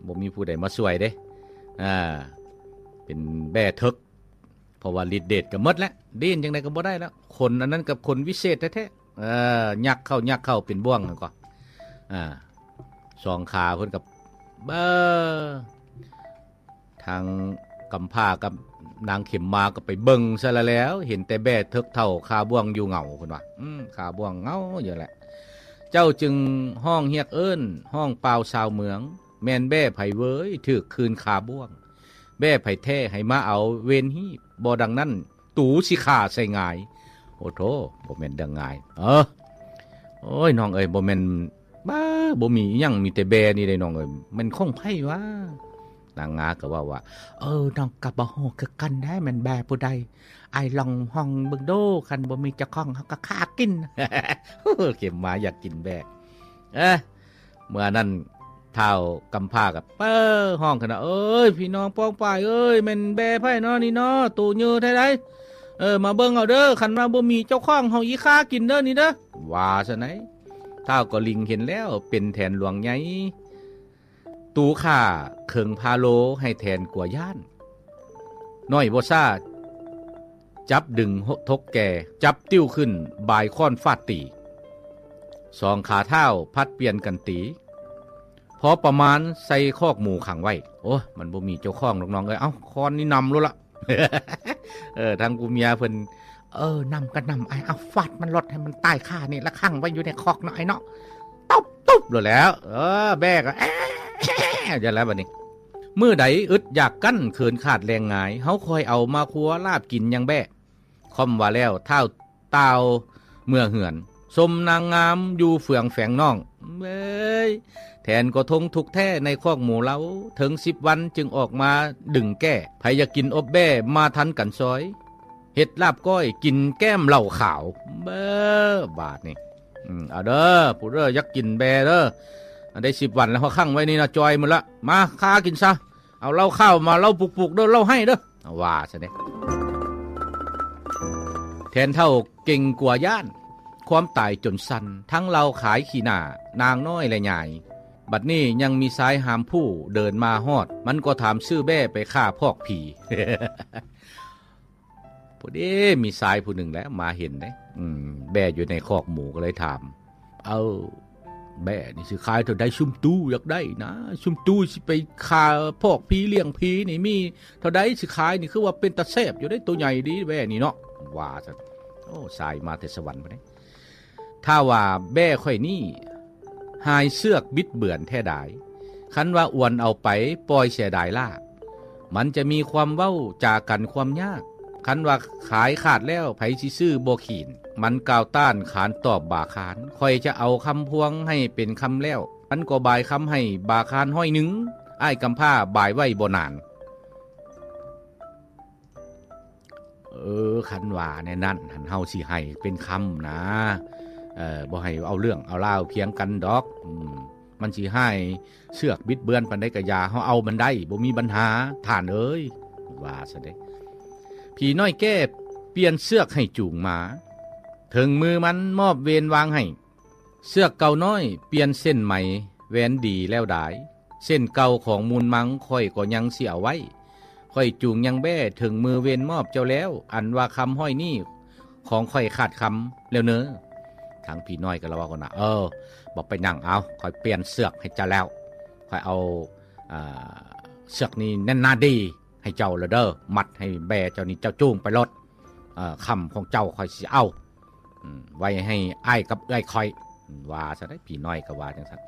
ບໍ່ມີຜູ້ໃດມາຊ່ວຍເດ້ ອ່າ ເປັນແບ້ເຖິກ ເພາະວ່າລິດເດດກໍໝົດແລ້ວ ດີນຈັ່ງໃດກໍບໍ່ໄດ້ແລ້ວ ຂົນອັນນັ້ນກັບຂົນວິເສດແທ້ໆ ເອີ ຍັກເຂົ້າ ຍັກເຂົ້າເປັນບ່ວງນັ້ນກໍ ອ່າ ສອງຂາເພິ່ນກໍ ເອີ ທາງກຳພ້າກັບນາງເຂັມມາກໍໄປເບິ່ງຊະລະແລ້ວ ເຫັນແຕ່ແບ້ເຖິກເຖົ້າຄາບ່ວງຢູ່ເຫງົາ ເພິ່ນວ່າ ອືມ ຄາບ່ວງເຫງົາຢູ່ແຫຼະ ເຈົ້າຈຶ່ງຮ້ອງຮຽກເອີ້ນ ຮ້ອງປ່າວຊາວເມືອງ ແມ່ນແບ້ໃຜເວີຍ ຖືກຄືນຄາບ່ວງ ແບ້ໃຜແທ້ ໃຫ້ມາເອົາເວນຮີບ ບໍ່ດັ່ງນັ້ນ ຕູຊິຂ້າໃສ່ຫງາຍ ໂອ້ໂທ ບໍ່ແມ່ນເລື່ອງງ່າຍ ເອີ ໂອ້ຍ ນ້ອງເອີຍ ບໍ່ແມ່ນ ບ້າ ບໍ່ມີອີ່ຫຍັງ ມີແຕ່ແບ້ນີ້ເດ້ນ້ອງເອີຍ ແມ່ນຂອງໃຜຫວາ? ນາງງາກໍເວົ້າວ່າ ເອີ ນ້ອງກໍບໍ່ຮູ້ຄືກັນເດ້ ແມ່ນແບ້ຜູ້ໃດ ອ້າຍລອງຮ້ອງເບິ່ງດູ ຄັນບໍ່ມີເຈົ້າຂອງ ເຮົາກໍຂ້າກິນ ເຂັມມາຢາກກິນແບ້ ເອີ ເມື່ອນັ້ນທ້າວກຳພ້າກໍ ເອີ ຮ້ອງຂຶ້ນວ່າ ເອີຍ ພີ່ນ້ອງປ້ອງປາຍເອີຍ ແມ່ນແບ້ໃຜເນາະນີ້ເນາະ ໂຕເຍີແທ້ໃດ ເອີ ມາເບິ່ງເອົາເດີ ຄັນວ່າບໍ່ມີເຈົ້າຂອງ ເຮົາອີ່ຂ້າກິນເດີນີ້ເດີ ວ່າຊັ້ນໃດ ທ້າວກໍລິງເຫັນແລ້ວ ເປັນແຖນຫຼວງໃຫຍ່ ຕູຂ້າເຄິ່ງພາໂລ ໃຫ້ແຖນກົວຢ້ານ ນ້ອຍບໍ່ຊ້າ ຈັບດຶງທົກແກ່ ຈັບຕິ້ວຂຶ້ນ ບາຍຄ້ອນຟາດຕີ ສອງຂາທ້າວຜັດປ່ຽນກັນຕີ ພໍປະມານໃສ່ຄອກໝູຂັງໄວ້ ໂອ້ຍ ມັນບໍ່ມີເຈົ້າຂອງດອກນ້ອງເອີຍ ເອົ້າ ຄ້ອນນີ້ນຳໂລດລະ ເອີ ທາງຜູ້ເມຍເພິ່ນ ເອີ ນຳກໍນຳ ອ້າຍ ເອົາ ຟາດມັນໂລດ ໃຫ້ມັນຕາຍຄານີ້ລະ ຂັງໄວ້ຢູ່ໃນຄອກເນາະ ອ້າຍເນາະ ຕຸບ ຕຸບໂລດແລ້ວ ເອີ ແບ້ກໍ ແອ້ ຢູ່ແລ້ວບັດນີ້ ມື້ໃດອຶດຢາກກັ້ນ ເຂີນຂາດແລງງາຍ ເຮົາຄ່ອຍເອົາມາຄົວລາບກິນຫຍັງແບ້ ຄ່ອມວ່າແລ້ວ ທ້າວຕ່າວເມືອເຮືອນ ຊົມນາງງາມຢູ່ເຟືອງແຝງນ້ອງ ເອີຍ ແຖນກໍທົງທຸກແທ້ໃນຄອກໝູເຮົາ ເຖິງສິບວັນຈຶ່ງອອກມາດຶງແກ້ ໃຜຢາກກິນອົບແບ້ ມາທັນກັນຊອຍ ເຮັດລາບກ້ອຍ ກິນແກ້ມເຫຼົ້າຂາວ ເບີ ບາດນີ້ ອືມ ເອົາເດີ ຜູ້ເດີ ຢາກກິນແບ້ເດີ ອັນໄດ້ສິບວັນແລ້ວ ເຮົາຂັງໄວ້ນີ້ນະ ຈ່ອຍໝົດລະ ມາ ຄາກິນຊະ ເອົາເຫຼົ້າຂາວມາ ເຫຼົ້າປຸກໆເດີ ເຫຼົ້າໄຫ້ເດີ ວ່າຊັ້ນເດ້ ແຖນເຖົ້າເກັ່ງກົວຢ້ານ ຄວາມຕາຍຈົນສັ່ນ ທັງເລົ່າຂາຍຂີ້ໜ້າ ນາງນ້ອຍແລະຍາຍ ບັດນີ້ຍັງມີຊາຍຫາມຜູ້ເດີນມາຮອດ ມັນກໍຖາມຊື້ແບ້ໄປຂ້າພອກຜີ ພໍດີມີຊາຍຜູ້ໜຶ່ງແຫຼະມາເຫັນເດ້ ອືມ ແບ້ຢູ່ໃນຄອກໝູກໍເລີຍຖາມ ເອົາ ແບ້ນີ້ຊິຂາຍເທົ່າໃດ ຊຸມຕູຢາກໄດ້ນະ ຊຸມຕູຊິໄປຂ້າພອກຜີລ້ຽງຜີນີ້ ມີເທົ່າໃດຊິຂາຍນີ້ ຄືວ່າເປັນຕາແຊບຢູ່ເດ້ ໂຕໃຫຍ່ດີແບ້ນີ້ເນາະ ວ່າຊັ້ນ ໂອ້ ຊາຍມາແຕ່ສະຫວັນພຸ້ນເດ້ ຖ້າວ່າແບ້ຂ້ອຍນີ້ຫາຍເຊືອກບິດເບືອນແທ້ດາຍ ຄັນວ່າອວນເອົາໄປປ່ອຍເສຍດາຍລ້າ ມັນຈະມີຄວາມເວົ້າຈາກັນຄວາມຍາກ ຄັນວ່າຂາຍຂາດແລ້ວ ໃຜຊິຊື້ບໍ່ຂີນ ມັນກ່າວຕ້ານຂານຕອບບາຄານ ຂ້ອຍຈະເອົາຄຳພວງໃຫ້ເປັນຄຳແລ້ວ ມັນກໍບາຍຄຳໃຫ້ບາຄານຮ້ອຍໜຶ່ງ ອ້າຍກຳພ້າບາຍໄວ້ບໍ່ນານ ເອີ ຄັນວ່າແນວນັ້ນຫັ້ນ ເຮົາຊິໃຫ້ເປັນຄຳນາ ເອີ ບໍ່ໃຫ້ເອົາເລື່ອງເອົາລາວຖຽງກັນດອກ ອືມ ມັນຊິຫາຍເຊືອກບິດເບືອນປານໃດກໍຢ່າ ເຮົາເອົາມັນໄດ້ ບໍ່ມີບັນຫາ ທ່ານເອີຍ ວ່າຊັ້ນເດ້ ຜີນ້ອຍແກ້ປ່ຽນເຊືອກໃຫ້ຈູງມາ ເຖິງມືມັນມອບເວນວາງໃຫ້ ເຊືອກເກົ່ານ້ອຍປ່ຽນເສັ້ນໄໝ ແຫວນດີແລ້ວດາຍ ເສັ້ນເກົ່າຂອງມູນມັງຂ້ອຍກໍຍັງຊິເອົາໄວ້ ຂ້ອຍຈູງຍັງແບ້ເຖິງມືເວນມອບເຈົ້າແລ້ວ ອັນວ່າຄຳຮ້ອຍນີ້ຂອງຂ້ອຍຂາດຄຳແລ້ວເນີ ທາງຜີນ້ອຍກໍລະເວົ້າກັນວ່າ ເອີ ບໍ່ເປັນຫຍັງ ເອົາ ຂ້ອຍປ່ຽນເຊືອກໃຫ້ເຈົ້າແລ້ວ ຂ້ອຍເອົາ ອ່າ ເຊືອກນີ້ແໜ້ນໜາດີ ໃຫ້ເຈົ້າລະເດີ ມັດໃຫ້ແບ້ເຈົ້ານີ້ ເຈົ້າຈູງໄປໂລດ ເອີ ຄຳຂອງເຈົ້າຂ້ອຍຊິເອົາ ອືມ ໄວ້ໃຫ້ອ້າຍກັບເອື້ອຍຂ້ອຍ ວ່າຊັ້ນໃດ໋ ຜີນ້ອຍກໍວ່າຈັ່ງຊັ້ນ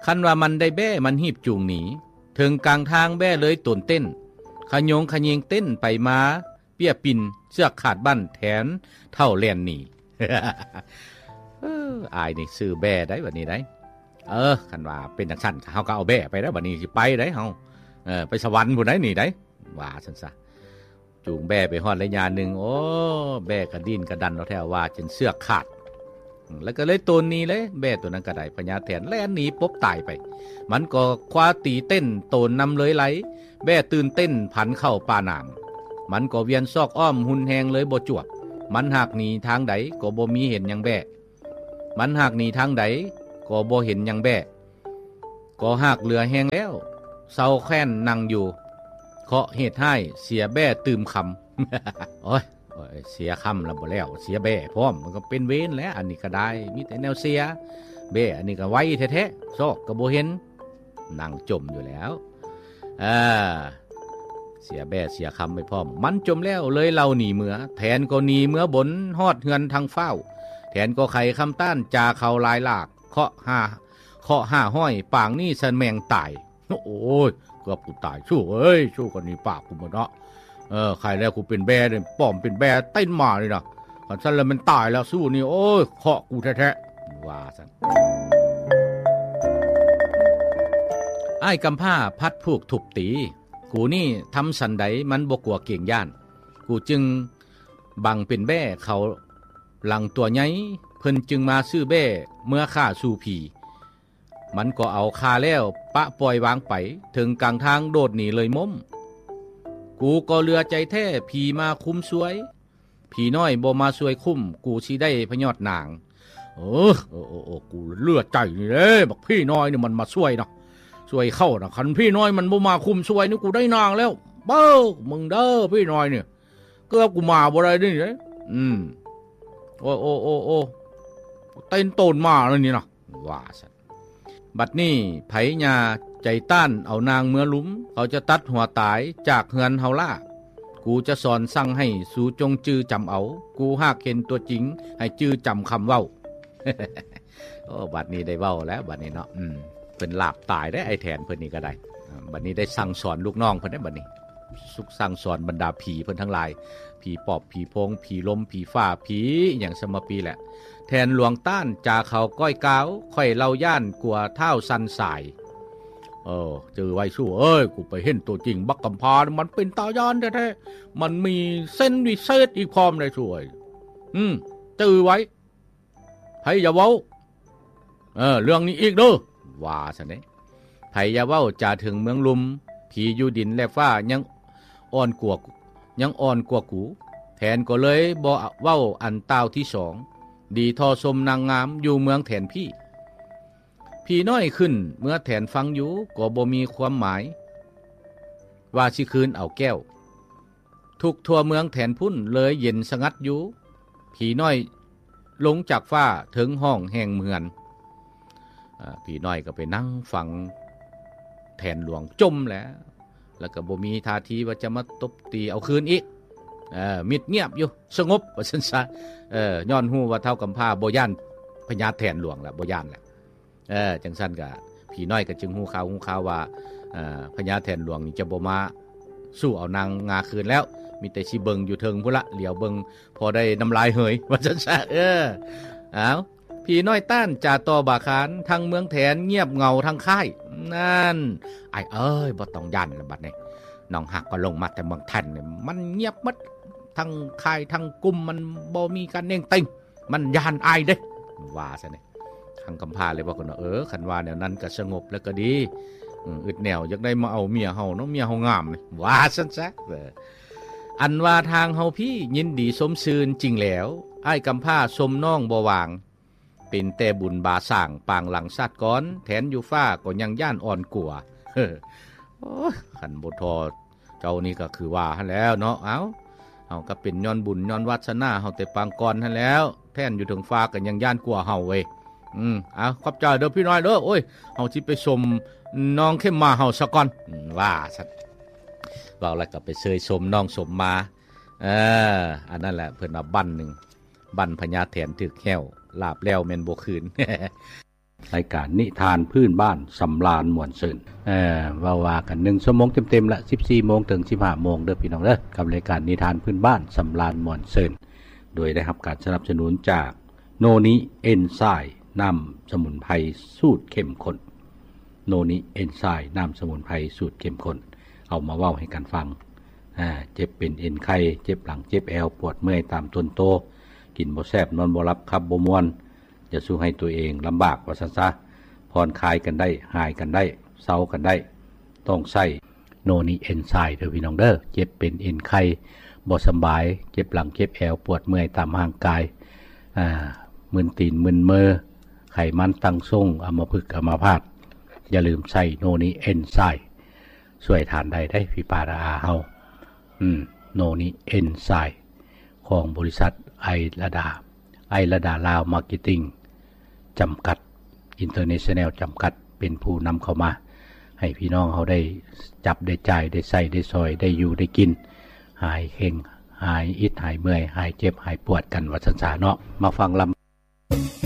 ຄັນວ່າມັນໄດ້ແບ້ ມັນຮີບຈູງໜີ ເຖິງກາງທາງແບ້ເລີຍໂຕນເຕັ້ນ ຂະໂຍງຂະເຍງເຕັ້ນໄປມາ ເປ້ຍປິ່ນ ເຊືອກຂາດບັ້ນ ແຖນເຖົ້າແລ່ນໜີ ເອີ ອ້າຍນີ້ຊື້ແບ້ໄດ໋ບັດນີ້ໄດ໋ ເອີ ຄັນວ່າເປັນຈັ່ງຊັ້ນ ເຮົາກໍເອົາແບ້ໄປແລ້ວ ບັດນີ້ຊິໄປໄດ໋ເຮົາ ເອີ ໄປສະຫວັນພຸ້ນໄດ໋ນີ້ໄດ໋ ວ່າຊັ້ນຊະ ຈູງແບ້ໄປຮອດໄລຍະໜຶ່ງ ໂອ້ ແບ້ກະດີ້ນກະດັນເອົາແທ້ວ່າຈົນເຊືອກຂາດ ແລ້ວກໍເລີຍໂຕນໜີເລີຍ ແບ້ໂຕນັ້ນກໍໄດ້ ພະຍາແຖນແລ່ນໜີປົບຕາຍໄປ ມັນກໍຄວ້າຕີເຕັ້ນໂຕນນຳເລີຍໄຫຼ ແບ້ຕື່ນເຕັ້ນຜັນເຂົ້າປ່າໜາມ ມັນກໍວຽນຊອກອ້ອມຮຸນແຮງເລີຍບໍ່ຈວບ ມັນຫາກໜີທາງໃດກໍບໍ່ມີເຫັນຫຍັງແບ້ ມັນຫາກໜີທາງໃດກໍບໍ່ເຫັນຫຍັງແບ້ ກໍຫາກເຫຼືອແຮງແລ້ວ ເຊົາແຄ້ນນັ່ງຢູ່ ເຄາະເຫດຮ້າຍເສຍແບ້ຕື່ມຄຳ. ໂອ້ຍ ໂອ້ຍ ເສຍຄຳລະບໍ່ແລ້ວ ເສຍແບ້ພ້ອມ ມັນກໍເປັນເວນແຫຼະ. ອັນນີ້ກໍໄດ້ ມີແຕ່ແນວເສຍ ແບ້ອັນນີ້ກໍໄວແທ້ໆ ຊອກກໍບໍ່ເຫັນ ນັ່ງຈົ່ມຢູ່ແລ້ວ. ເອີ ເສຍແບ້ເສຍຄຳໄປພ້ອມ. ມັນຈົ່ມແລ້ວເລີຍເລົ່າໜີເມືອ ແທນກໍໜີເມືອບົນ ຮອດເຮືອນທັງຟ້າວ ແທນກໍໄຂຄຳຕ້ານ ຈາເຂົາຫຼາຍຫຼາກ ເຄາະຫ້າ ເຄາະຫ້າຮ້ອຍ ປາງນີ້ສະແມງຕາຍ. ໂອ້ຍ ເກືອບກູຕາຍ ສູ້ເອີຍ ສູ້ກັນນີ້ປາກກູໝົດເນາະ. ເອີ ໃຄແລ້ວກູເປັນແບ້ນີ້ ປ້ອມເປັນແບ້ເຕັ້ນມານີ້ນະ. ຄັນຊັ້ນແລ້ວແມ່ນຕາຍແລ້ວ ສູ້ນີ້ ໂອ້ຍ ເຄາະກູແທ້ໆ ວ່າຊັ້ນ. ອ້າຍກຳພ້າພັດຜູກທຸບຕີ ກູນີ້ທຳສັນໃດມັນບໍ່ກົວເກງຢ້ານ ກູຈຶ່ງບັງເປັນແບ້ເຂົາຫຼັງຕົວໃຫຍ່ ເພິ່ນຈຶ່ງມາຊື້ແບ້ເມືອຂ້າສູ່ຜີ. ມັນກໍເອົາຂ້າແລ້ວປະປ່ອຍວາງໄປ ເຖິງກາງທາງໂດດໜີເລີຍມົ້ມ. ກູກໍເຫຼືອໃຈແທ້ ຜີມາຄຸມຊ່ວຍ ຜີນ້ອຍບໍ່ມາຊ່ວຍຄຸ້ມ ກູຊິໄດ້ພະຍອດໜາງ. ເອີ ເອີ ເອີ ເອີ ກູເຫຼືອໃຈນີ້ເດ້ ບັກຜີນ້ອຍນີ້ມັນມາຊ່ວຍນະ ຊ່ວຍເຂົ້ານະ. ຄັນຜີນ້ອຍມັນບໍ່ມາຄຸມຊ່ວຍນີ້ ກູໄດ້ນາງແລ້ວ. ເບິ່ງມຶງເດີ ຜີນ້ອຍນີ້ ເກືອບກູມາບໍ່ໄດ້ນີ້ເດ້. ອືມ ໂອ້ ໂອ້ ໂອ້ ໂອ້ ເຕັ້ນໂຕນມາແລ້ວນີ້ນະ ວ່າຊັ້ນ. ບັດນີ້ໃຜຍ່າໃຈຕ້ານເອົານາງເມືອລຸມ ເຂົາຈະຕັດຫົວຕາຍຈາກເຮືອນເຮົາລະ. ກູຈະສອນສັ່ງໃຫ້ສູຈົ່ງຈື່ຈຳເອົາ ກູຫາກເຫັນຕົວຈິງໃຫ້ຈື່ຈຳຄຳເວົ້າ. ໂອ້ ບັດນີ້ໄດ້ເວົ້າແລ້ວບັດນີ້ເນາະ. ອືມ ເພິ່ນລາບຕາຍເດ້ ອ້າຍແທນເພິ່ນນີ້ກໍໄດ້. ອາ ບັດນີ້ໄດ້ສັ່ງສອນລູກນ້ອງເພິ່ນເດ້ບັດນີ້ ສັ່ງສອນບັນດາຜີເພິ່ນທັງຫຼາຍ ຜີປອບ ຜີໂພງ ຜີລົມ ຜີຟ້າ ຜີຫຍັງສະມະປີແຫຼະ. ແທນຫຼວງຕ້ານ ຈາເຂົາກ້ອຍກາວ ຂ້ອຍເລົ່າຢ້ານກວ່າທ້າວສັນສາຍ. ເອີ ຈື່ໄວ້ສູ້ເອີຍ ກູໄປເຫັນຕົວຈິງບັກກຳພ້າ ມັນເປັນຕາຢ້ານແທ້ໆ ມັນມີເຊັນວິເສດອີກພ້ອມເດ້ສູ້ເອີຍ. ອືມ ຈື່ໄວ້ ໃຜຢ່າເວົ້າ ເອີ ເລື່ອງນີ້ອີກເດີ ວ່າຊັ້ນເດ້. ໃຜຢ່າເວົ້າຈາເຖິງເມືອງລຸ່ມ ຜີຢູ່ດິນແລະຟ້າຍັງອ່ອນກວ່າ ຍັງອ່ອນກວ່າກູ. ແທນກໍເລີຍບໍ່ເວົ້າອັນຕ່າວທີສອງ ດີທໍ່ຊົມນາງງາມຢູ່ເມືອງແທນພີ. ຜີນ້ອຍຂຶ້ນເມືອແທນຟັງຢູ່ ກໍບໍ່ມີຄວາມໝາຍ ວ່າຊິຄືນເອົາແກ້ວ. ທຸກທົ່ວເມືອງແທນພຸ້ນເລີຍເຢັນສະຫງັດຢູ່. ຜີນ້ອຍລົງຈາກຟ້າເຖິງຫ້ອງແຫ່ງເຮືອນ. ອາ ຜີນ້ອຍກໍໄປນັ່ງຟັງແທນຫຼວງຈົ່ມແລ້ວ ແລ້ວກໍບໍ່ມີທ່າທີວ່າຈະມາຕົບຕີເອົາຄືນອີກ. ເອີ ມິດງຽບຢູ່ ສະຫງົບວ່າຊັ້ນຊະ. ເອີ ຍ້ອນຮູ້ວ່າທ້າວກຳພ້າບໍ່ຢ້ານພະຍາແທນຫຼວງແລ້ວ ບໍ່ຢ້ານແລ້ວ. ເອີ ຈັ່ງຊັ້ນກະ ຜີນ້ອຍກໍຈຶ່ງຮູ້ຂ່າວ ຮູ້ຂ່າວວ່າ ເອີ ພະຍາແທນຫຼວງນີ້ຈະບໍ່ມາສູ້ເອົານາງງາຄືນແລ້ວ ມີແຕ່ຊິເບິ່ງຢູ່ເທິງພຸ້ນລະ ຫຼຽວເບິ່ງພໍໄດ້ນ້ຳລາຍເຫີຍ ວ່າຊັ້ນຊະ. ເອີ ເອົາ ຜີນ້ອຍຕ້ານຈາຕໍ່ບາຄານ ທັງເມືອງແທນງຽບເຫງົາທັງຄ້າຍ. ນັ້ນ ອ້າຍເອີຍ ບໍ່ຕ້ອງຢ້ານລະບັດນີ້ ນ້ອງຮັກກໍລົງມາແຕ່ເມືອງແທນນີ້ ມັນງຽບໝົດ ທັງຄ້າຍທັງກຸ່ມ ມັນບໍ່ມີການເໜັງເຕັງ ມັນຢ້ານອ້າຍເດ້ ວ່າຊັ້ນເດ້. ທັງກຳພ້າເລີຍເວົ້າກັນວ່າ ເອີ ຄັນວ່າແນວນັ້ນກໍສະຫງົບແລ້ວກໍດີ ອືມ ອຶດແນວຢາກໄດ້ມາເອົາເມຍເຮົາເນາະ ເມຍເຮົາງາມນີ້ ວ່າຊັ້ນຊະ. ເອີ ອັນວ່າທາງເຮົາພີ້ຍິນດີຊົມຊື່ນຈິງແລ້ວ ອ້າຍກຳພ້າຊົມນ້ອງບໍ່ຫວ່າງ ເປັນແຕ່ບຸນບາສ້າງປາງຫຼັງຊາດກ່ອນ ແທນຢູ່ຟ້າກໍຍັງຢ້ານອ່ອນກົວ. ໂອ້ຍ ຄັນບໍ່ທໍ່ ເຈົ້ານີ້ກໍຄືວ່າຫັ້ນແຫຼ້ວເນາະ. ເອົ້າ ເຮົາກໍເປັນຍ້ອນບຸນຍ້ອນວາດສະໜາເຮົາແຕ່ປາງກ່ອນຫັ້ນແຫຼ້ວ ແທນຢູ່ເທິງຟ້າກໍຍັງຢ້ານກວ່າເຮົາເວີຍ. ອືມ ເອົາ ຂອບໃຈເດີພີ່ນ້ອຍເດີ ໂອ້ຍ ເຮົາຊິໄປຊົມນ້ອງເຂັມມາເຮົາສາກ່ອນ ອືມ ວ່າຊັ້ນ. ເວົ້າແລ້ວກໍໄປເຊີຍຊົມນ້ອງຊົມມາ. ເອີ ອັນນັ້ນແຫຼະ ເພິ່ນວ່າບັ້ນໜຶ່ງ ບັ້ນພະຍາແທນຖືກແຮ້ວ ລາບແລ້ວແມ່ນບໍ່ຄືນ. ລາຍການນິທານພື້ນບ້ານສຳລານມ່ວນຊື່ນ ເອີ ເວົ້າວ່າກັນໜຶ່ງຊົ່ວໂມງເຕັມໆລະ ສິບສີ່ໂມງເຖິງສິບຫ້າໂມງເດີພີ່ນ້ອງເດີ ກັບລາຍການນິທານພື້ນບ້ານສຳລານມ່ວນຊື່ນ ໂດຍໄດ້ຮັບການສະໜັບສະໜູນຈາກໂນນິເອັນໄຊ ນ້ຳສະໝຸນໄພສູດເຂັ້ມຂຸ້ນ. ໂນນິເອັນໄຊ ນ້ຳສະໝຸນໄພສູດເຂັ້ມຂຸ້ນ ເອົາມາເວົ້າໃຫ້ກັນຟັງ. ອາ ເຈັບເປັນເອັນໄຂ່ ເຈັບຫຼັງ ເຈັບແອວ ປວດເມື່ອຍຕາມຕົນໂຕ ກິນບໍ່ແຊບ ນອນບໍ່ຫຼັບ ຂັບບໍ່ມ່ວນ ຈະຊ່ວຍໃຫ້ຕົວເອງລຳບາກວ່າຊັ້ນຊະ ຜ່ອນຄາຍກັນໄດ້ ຫາຍກັນໄດ້ ເຊົາກັນໄດ້ ຕ້ອງໃຊ້ໂນນິເອັນໄຊເດີພີ່ນ້ອງເດີ. ເຈັບເປັນເອັນໄຂ່ ບໍ່ສຳບາຍ ເຈັບຫຼັງເຈັບແອວ ປວດເມື່ອຍຕາມຮ່າງກາຍ ອາ ມຶນຕີນມຶນມື ໄຂມັນຕັ້ງຊົງ ອຳມະພຶກອຳມະພາດ ຢ່າລືມໃຊ້ໂນນິເອັນໄຊ ຊ່ວຍທ່ານໄດ້ເດ້ພີ່ປ້ານ້າອາເຮົາ. ອືມ ໂນນິເອັນໄຊ ຂອງບໍລິສັດໄອລະດາ ໄອລະດາລາວມາເກັດຕິງ ຈຳກັດ ອິນເຕີເນຊັນແນວ ຈຳກັດ ເປັນຜູ້ນຳເຂົ້າມາ ໃຫ້ພີ່ນ້ອງເຮົາໄດ້ຈັບໄດ້ຈ່າຍ ໄດ້ໃຊ້ໄດ້ສອຍ ໄດ້ຢູ່ໄດ້ກິນ ຫາຍເຄັ່ງ ຫາຍອິດຫາຍເມື່ອຍ ຫາຍເຈັບຫາຍປວດກັນ ວ່າຊັ້ນຊະເນາະ. ມາຟັງລຳ